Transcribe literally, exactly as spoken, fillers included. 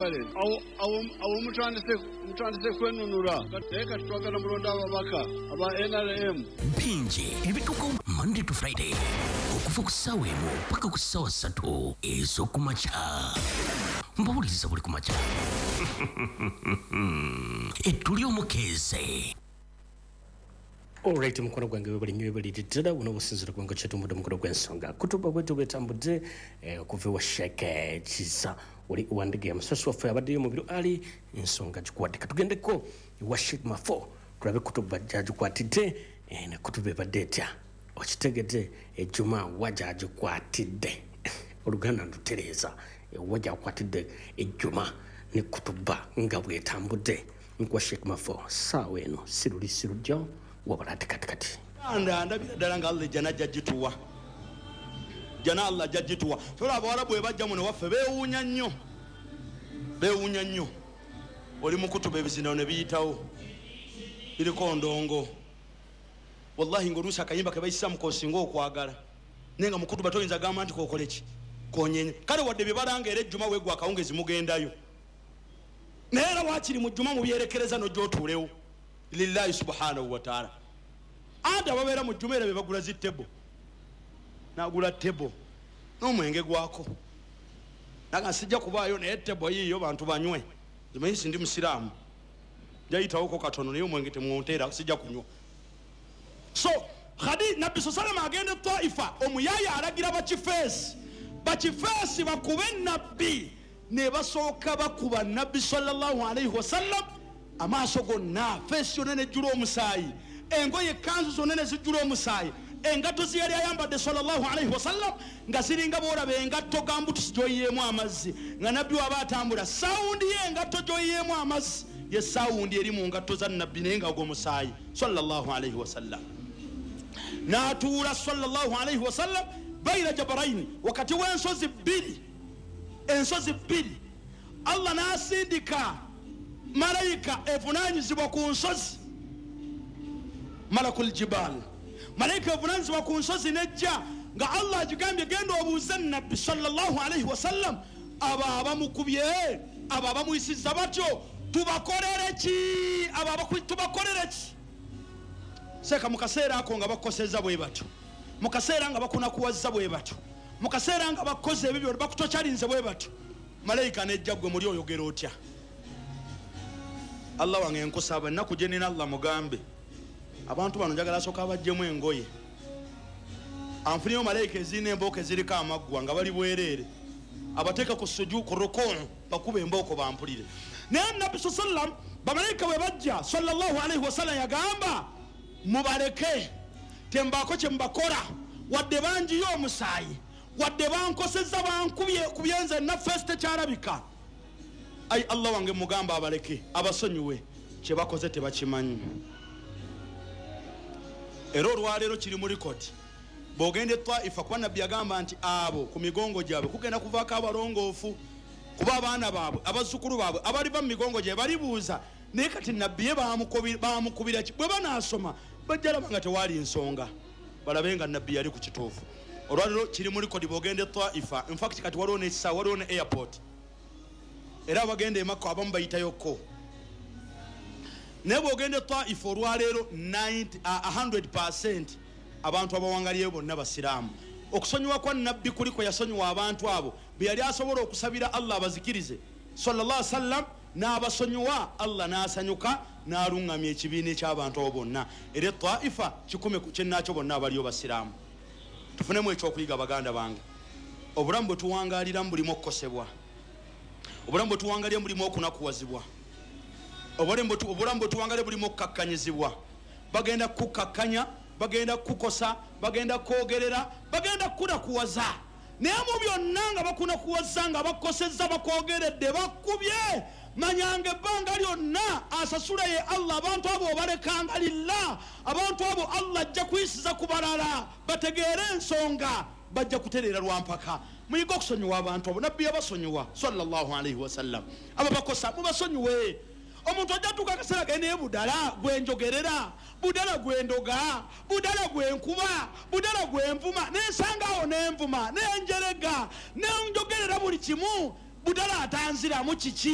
Awo mutandise kwenunula, naye kati twagala mulonda ababaka aba N R M. Bingi ebituuka Monday to Friday okuva ku ssaawa emu paka ku ssaawa ssatu ez'okumakya. Mbawuliriza buli kumakya. Ettuli omukeeze. Alright, mukono gwange webali nnyo webali ddala buno obusinzira kubanga kyetumbudde omukono gw'ensonga kutuba bwetu bwetambudde okuva ewa Sheikh Kiza oli Wandegeya musasi waffe abaddeyo mu biro ali ensonga gikuwadde. Katugendeko ewa Sheikh Mafo tulabe kutuba gyagikwatidde ne kutuba ebadde etya. Okitegedde ejjuma wa gyagikwatidde, oluganda ndutereeza ewa gyakwatidde ejjuma ne kutuba nga bwetambudde. Nkuwa Sheikh Mafo ssaawa eno si luli si lujja wabula katikati. Anda ndabira ddala nga Allah ejjana ajja gituwa, jjana Allah ajja gituwa. Ffe abawarabu bwe bajja muno waffe beewuunya nnyo, beewuunya nnyo. Oli mu kutuba ebizindalo ne biyitawo biriko ndongo. Wallahi ng'oluusi akayimba ke bayisa mu k'osinga okwagala, naye nga mu kutuba toyinza gamba nti kookole ki, konyenye. Kale wadde bye balanga era ejjuma weegwa akawungezi mugendayo, naye era waakiri mu jjuma mubyerekereza n'ojja otuulewo lillahi subhanahu wa ta'ala. Anti ababeera mu jjuma era be bagula zi tebo, nagula tebo n'omwenge gwako, naga sijja kubaayo naye tebo yiiyo bantu banywe. Nze manyi ndi musiraamu, njayitawoko katono naye omwenge temwonteera, sijja kunywa. So Khadi Nabbi salama agenda Taifa, omuyaya alagira bakifeesi, bakifeesi bakube Nabbi, ne basooka bakuba Nabbi sallallahu alaihi wasallam amaaso gonna, feesi yonna nejjula omusaayi, engoye ekkanzu zonna ne zijjula omusaayi, engatto ze yali ayambadde sallallahu alaihi wasallam nga ziringa bw'olaba engatto gambutusi gy'oyiyeemu amazzi, nga Nabbi waba atambula sawundi y'engatto gy'oyiyeemu amazzi ye sawundi eri mu ngatto za Nabbi naye nga ogw'omusaayi sallallahu alaihi wasallam. N'atuula sallallahu alaihi wasallam baina jabaraini, wakati w'ensozi bbiri, ensozi bbiri. Allah n'asindika malayika evunaanyizibwa ku nsozi, malakul jibal, malayika evunaanyizibwa ku nsozi nejja nga Allah agigambye genda obuuze Nabbi sallallahu alaihi wasallam abo abamukubye, abo abamuyisizza batyo tubakolere ki, abo tubakolere ki. Seeka mu kaseera ako nga bakosezza bwe batyo, mu kaseera nga bakunakuwazza bwe batyo, mu kaseera nga bakoze ebibyo bakutokyalinze bwe batyo, malayika nejja gwe muli oyogera otya? Allah wange nkusaba ennaku gye nnina Allah mugambe abantu bano njagala asooka abaggyemu engoye, anfuniyo malayika ezirina embooko eziriko amaggwa nga bali bwereere, abateeka ku suju ku rukuu bakuba embooko bampulire. Naye Nabbi sallam bamalayika bwe bajja sallallahu alaihi wasallam yagamba mubaleke, tembaako kye mubakola, wadde bangiyo omusaayi, wadde bankosezza bankubye kubyenze naffe tekyalabika. Ai Allah wange mugamba abaleke abasonyiwe, kye bakoze tebakimanyi. Era olwaleero kiri mu likodi bw'ogenda e Taifa, kuba Nabbi yagamba nti abo ku migongo gyabwe kugenda kuvaako abalongoofu, kuba abaana baabwe abazzukulu baabwe abaliva mu migongo gyabwe balibuuza. Naye kati Nabbi ye bamukubira ki? Bwe banaasoma bajja laba nga tewaali nsonga, balabe nga Nabbi yali ku kituufu. Olwaleero kiri mu likodi bw'ogenda e Taifa. In fact kati waliwo n'ekisaawe, waliwo ne airport, era abagenda e Makka abamu bayitayokko. Naye bw'ogenda e Taifa olwaleero one hundred percent abantu abawangaliyeyo bonna basiraamu. Okusonyiwa kwa Nabbi kuli kwe yasonyiwa abantu abo bwe yali asobola okusabira Allah abazikirize sallallahu alaihi wasallam, n'abasonyiwa Allah n'asanyuka n'aluŋŋamya ekibiina eky'abantu abo bonna. Era Taifa kikumi ku kyennaakyo bonna abaliyo basiraamu. Tufunemu ekyokuyiga baganda bange, obulamu bwe tuwangaaliramu bulimu okukosebwa, obulamu bwe tuwangalira bulimu okunakuwazibwa, obulamu bwe tuwangalira bulimu okukakkanyizibwa. Bagenda kukukakkanya, bagenda kukukosa, bagenda kwogerera, bagenda kukunakuwaza. Naye mu byonna nga bakunakuwaza, nga bakosezza, bakwogeredde, bakubye, manyanga ebbanga lyonna asasula ye Allah. Abantu abo obalekanga lillah, abantu abo Allah ajja kuyisiza ku balala bategeere ensonga, bajja kutereera lwampaka. Muyige okusonyiwa abantu abo, Nabbi yabasonyiwa sallallahu alaihi wasallam. Abo bakosa mubasonyiwe. Omuntu ajja tuuka akaseera ge naye budala gwenjogerera, budala gwendoga, budala gwenkuba, budala gwenvuma, nensanga awo nenvuma, nenjerega, nenjogerera buli kimu, budala atanziramu kiki?